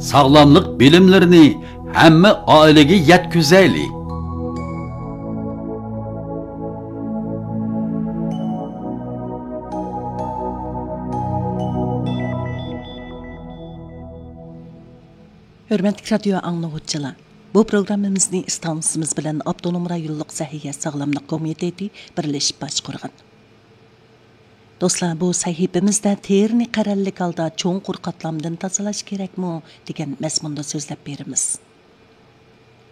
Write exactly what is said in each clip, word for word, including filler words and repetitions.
ساغلاملىق بىلىملىرىنى ھەممە ئائىلىگە يەتكۈزەيلى! ھۆرمەتلىك رادىيو ئاڭلىغۇچىلار، بۇ پروگراممىمىزنى ئىستانسىمىز بىلەن ئاپتونوم رايونلۇق سەھىيە ساغلاملىق كومىتېتى بىرلىشىپ باشقۇرغان. دوستلار، بۇ سەھىپىمىزدە تېرىنى قەرەللىك ھالدا چوڭقۇر قاتلامدىن تازىلاش كېرەكمۇ دېگەن مەزمۇندا سۆزلەپ بېرىمىز.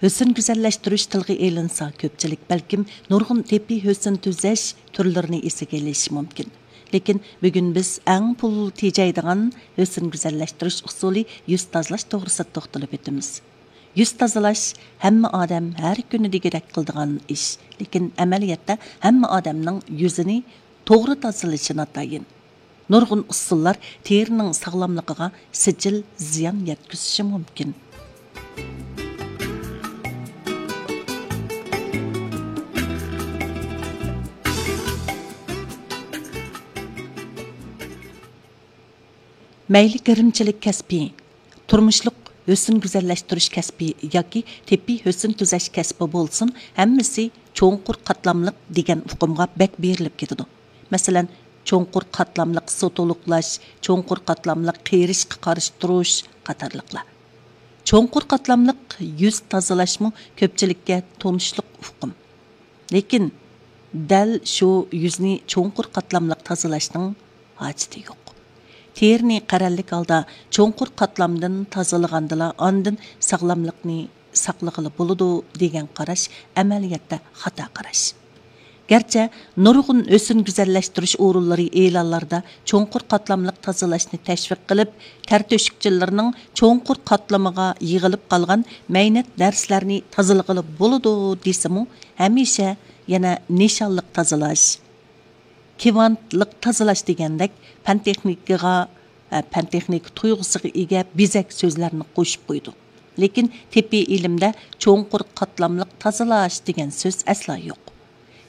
ھۆسن گۈزەللەشتۈرۈش تىلغا ئېلىنسا، كۆپچىلىك بەلكىم نۇرغۇن تېببىي ھۆسن تۈزەش تۈرلىرىنى ئېسىگە ئېلىشى مۇمكىن. لېكىن بۈگۈن بىز ئەڭ پۇل تېجەيدىغان ھۆسن گۈزەللەشتۈرۈش ئۇسۇلى يۈز تازىلاش توغرىسىدا توختىلىپ ئۆتىمىز. يۈز تازىلاش ھەممە ئادەم ھەر كۈنى دېگۈدەك قىلىدىغان ئىش، لېكىن ئەمەلىيەتتە ھەممە ئادەمنىڭ يۈزىنى توغرا تازىلىشى ناتايىن. نۇرغۇن ئۇسۇللار تېرىنىڭ ساغلاملىقىغا سىجىل زىيان يەتكۈزۈشى مۇمكىن. مەيلى گىرىمچىلىك كەسپى، تۇرمۇشلۇق ھۆسن گۈزەللەشتۈرۈش كەسپى ياكى تېببىي ھۆسن تۈزەش كەسپى بولسۇن، ھەممىسى چوڭقۇر قاتلاملىق دېگەن ئۇقۇمغا بەك بېرىلىپ كېتىدۇ. مەسىلەن، چوڭقۇر قاتلاملىق سۇ تولۇقلاش، چوڭقۇر قاتلاملىق قېرىشقا قارشى تۇرۇش قاتارلىقلار. چوڭقۇر قاتلاملىق يۈز تازىلاشمۇ كۆپچىلىككە تونۇشلۇق ئۇقۇم. لېكىن دەل شۇ يۈزنى چوڭقۇر قاتلاملىق تازىلاشنىڭ ھاجىتى يوق. تېرىنى قەرەللىك ھالدا چوڭقۇر قاتلامدىن تازىلىغاندىلا ئاندىن ساغلاملىقنى ساقلىغىلى بولىدۇ دېگەن قاراش ئەمەلىيەتتە خاتا قاراش. گەرچە نۇرغۇن ھۆسن گۈزەللەشتۈرۈش ئورۇنلىرى ئېلانلاردا چوڭقۇر قاتلاملىق تازىلاشنى تەشۋىق قىلىپ، تەر تۆشۈكچىلىرىنىڭ چوڭقۇر قاتلىمىغا يىغىلىپ قالغان مەينەت نەرسىلەرنى تازىلىغىلى بولىدۇ دېسىمۇ، ھەمىشە يەنە نىشانلىق تازىلاش، كىۋانتلىق تازىلاش دېگەندەك پەن تېخنىكىغا، پەن تېخنىكا تۇيغۇسىغا ئىگە بېزەك سۆزلەرنى قوشۇپ قويىدۇ. لېكىن تېببىي ئىلىمدە چوڭقۇر قاتلاملىق تازىلاش دېگەن سۆز ئەسلا يوق.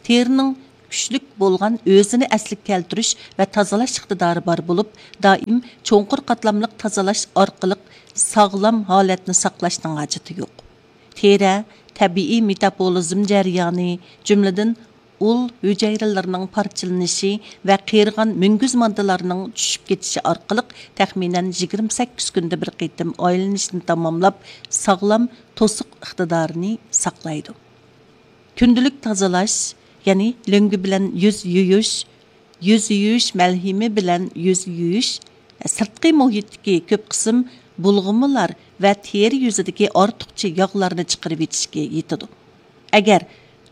تېرىنىڭ كۈچلۈك بولغان ئۆزىنى ئەسلىگە كەلتۈرۈش ۋە تازىلاش ئىقتىدارى بار بولۇپ، دائىم چوڭقۇر قاتلاملىق تازىلاش ئارقىلىق ساغلام ھالەتنى ساقلاشنىڭ ھاجىتى يوق. تېرە تەبىئىي مېتابولىزم جەريانى، جۈملىدىن ئۇل ھۈجەيرىلىرىنىڭ پارچىلىنىشى ۋە قېرىغان مۈڭگۈز ماددىلارنىڭ چۈشۈپ كېتىشى ئارقىلىق تەخمىنەن يىگىرمە سەككىز كۈندە بىر قېتىم ئايلىنىشنى تاماملاپ، ساغلام توسۇق ئىقتىدارىنى ساقلايدۇ. كۈندىلىك تازىلاش، يەنى لۆڭگە بىلەن يۈز يۇيۇش، يۈز يۇيۇش مەلھىمى بىلەن يۈز يۇيۇش، سىرتقى مۇھىتتىكى كۆپ قىسىم بۇلغىمىلار ۋە تېرە يۈزىدىكى ئارتۇقچە ياغلارنى چىقىرىۋېتىشكە يېتىدۇ. ئەگەر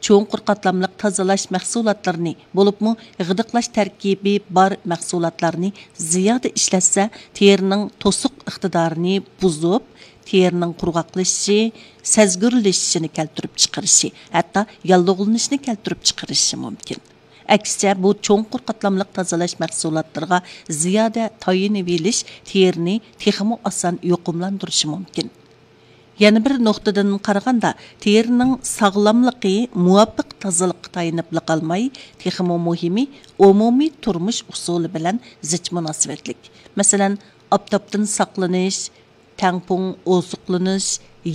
چوڭقۇر قاتلاملىق تازىلاش مەھسۇلاتلىرىنى، بولۇپمۇ غىدىقلاش تەركىبى بار مەھسۇلاتلارنى زىيادە ئىشلەتسە، تېرىنىڭ توسۇق ئىقتىدارىنى بۇزۇپ، تېرىنىڭ قۇرغاقلىشىشى، سەزگۈرلىشىشىنى كەلتۈرۈپ چىقىرىشى، ھەتتا ياللۇغلىنىشنى كەلتۈرۈپ چىقىرىشى مۇمكىن. ئەكسىچە، بۇ چوڭقۇر قاتلاملىق تازىلاش مەھسۇلاتلىرىغا زىيادە تايىنىۋېلىش تېرىنى تېخىمۇ ئاسان يۇقۇملاندۇرۇشى مۇمكىن. يەنە بىر نۇقتىدىن قارىغاندا، تېرىنىڭ ساغلاملىقى مۇۋاپىق تازىلىققا تايىنىپلا قالماي، تېخىمۇ مۇھىمى، ئومۇمىي تۇرمۇش ئۇسۇلى بىلەن زىچ مۇناسىۋەتلىك. مەسىلەن، ئاپتاپتىن ساقلىنىش، تەڭپۇڭ ئوزۇقلىنىش،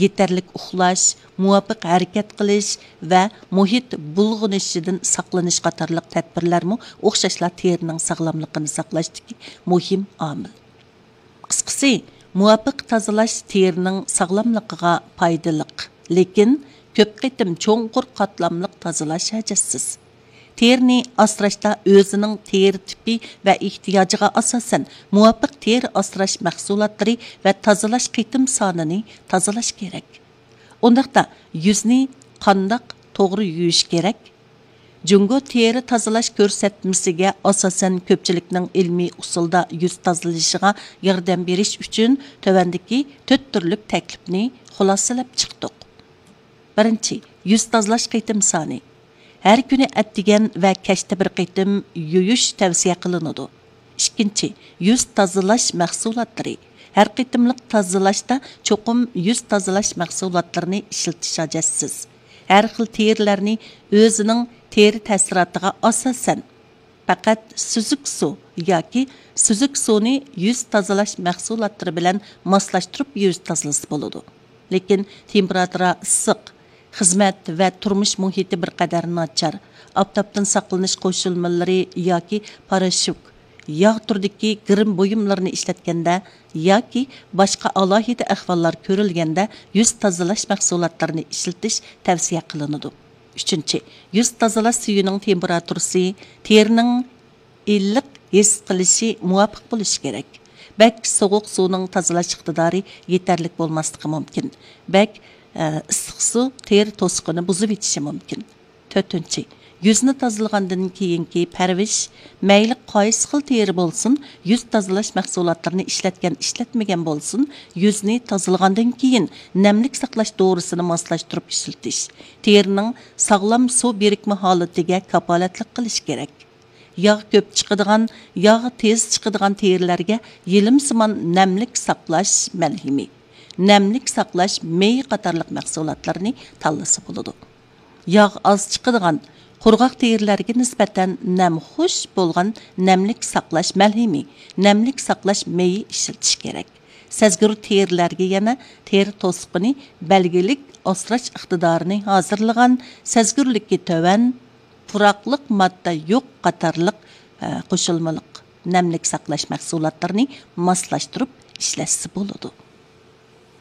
يېتەرلىك ئۇخلاش، مۇۋاپىق ھەرىكەت قىلىش ۋە مۇھىت بۇلغىنىشىدىن ساقلىنىش قاتارلىق تەدبىرلەرمۇ ئوخشاشلا تېرىنىڭ ساغلاملىقىنى ساقلاشتىكى مۇھىم ئامىل. قىسقىسى، مۇۋاپىق تازىلاش تېرىنىڭ ساغلاملىقىغا پايدىلىق، لېكىن كۆپ قېتىم چوڭقۇر قاتلاملىق تازىلاش ھاجەتسىز. تېرىنى ئاسراشتا ئۆزىنىڭ تېرە تىپى ۋە ئېھتىياجىغا ئاساسەن مۇۋاپىق تېرە ئاسراش مەھسۇلاتلىرى ۋە تازىلاش قېتىم سانىنى تازىلاش كېرەك. ئۇنداقتا يۈزنى قانداق توغرا يۇيۇش كېرەك؟ جۇڭگو تېرە تازىلاش كۆرسەتمىسىگە ئاساسەن، كۆپچىلىكنىڭ ئىلمىي ئۇسۇلدا يۈز تازىلىشىغا ياردەم بېرىش ئۈچۈن تۆۋەندىكى تۆت تۈرلۈك تەكلىپنى خۇلاسىلەپ چىقتۇق. بىرىنچى، يۈز تازىلاش قېتىم سانى. ھەر كۈنى ئەتىگەن ۋە كەچتە بىر قېتىم يۇيۇش تەۋسىيە قىلىنىدۇ. ئىككىنچى، يۈز تازىلاش مەھسۇلاتلىرى. ھەر قېتىملىق تازىلاشتا چوقۇم يۈز تازىلاش مەھسۇلاتلىرىنى ئىشلىتىش ھاجەتسىز. ھەر خىل تېرىلەرنى ئۆزىنىڭ تېرە تەسىراتىغا ئاساسەن، پەقەت سۈزۈك سۇ ياكى سۈزۈك سۇنى يۈز تازىلاش مەھسۇلاتلىرى بىلەن ماسلاشتۇرۇپ يۈز تازىلىسا بولىدۇ. لېكىن تېمپېراتۇرا ئىسسىق، خىزمەت ۋە تۇرمۇش مۇھىتى بىر قەدەر ناچار، ئاپتاپتىن ساقلىنىش قوشۇلمىلىرى ياكى پاراشوك، ياغ تۈرىدىكى گىرىم بۇيۇملىرىنى ئىشلەتكەندە ياكى باشقا ئالاھىدە ئەھۋاللار كۆرۈلگەندە يۈز تازىلاش مەھسۇلاتلىرىنى ئىشلىتىش تەۋسىيە قىلىنىدۇ. ئۈچىنچى، يۈز تازىلاش سۈيىنىڭ تېمپېراتۇرىسى تېرىنىڭ ئىللىق ھېس قىلىشى مۇۋاپىق بولۇشى كېرەك. بەك سوغۇق سۇنىڭ تازىلاش ئىقتىدارى يېتەرلىك بولماسلىقى مۇمكىن. بەك، ئە، ئىسسىق سۇ تېرە توسۇقىنى بۇزۇۋېتىشى مۇمكىن. تۆتىنچى، يۈزنى تازىلىغاندىن كېيىنكى پەرۋىش، مەيلى قايسى خىل تېرە بولسۇن، يۈز تازىلاش مەھسۇلاتلىرىنى ئىشلەتكەن، ئىشلەتمىگەن بولسۇن، يۈزنى تازىلىغاندىن كېيىن نەملىك ساقلاش دورىسىنى ماسلاشتۇرۇپ ئىشلىتىش، تېرىنىڭ ساغلام سۇ بىرىكمە ھالىتىگە كاپالەتلىك قىلىش كېرەك. ياغ كۆپ چىقىدىغان، ياغ تېز چىقىدىغان تېرىلەرگە يېلىمسىمان نەملىك ساقلاش مەلھىمى، نەملىك ساقلاش مېيى قاتارلىق مەھسۇلاتلارنى تاللىسا بولىدۇ. ياغ ئاز چىقىدىغان، قۇرغاق تېرىلەرگە نىسبەتەن نەم خۇش بولغان نەملىك ساقلاش مەلھىمى، نەملىك ساقلاش مېيى ئىشلىتىش كېرەك. سەزگۈر تېرىلەرگە يەنە تېرە توسۇقىنى بەلگىلىك ئاسراش ئىقتىدارىنى ھازىرلىغان، سەزگۈرلۈكى تۆۋەن، پۇراقلىق ماددا يوق قاتارلىق، ئە، قوشۇلمىلىق نەملىك ساقلاش مەھسۇلاتلىرىنى ماسلاشتۇرۇپ ئىشلەتسە بولىدۇ.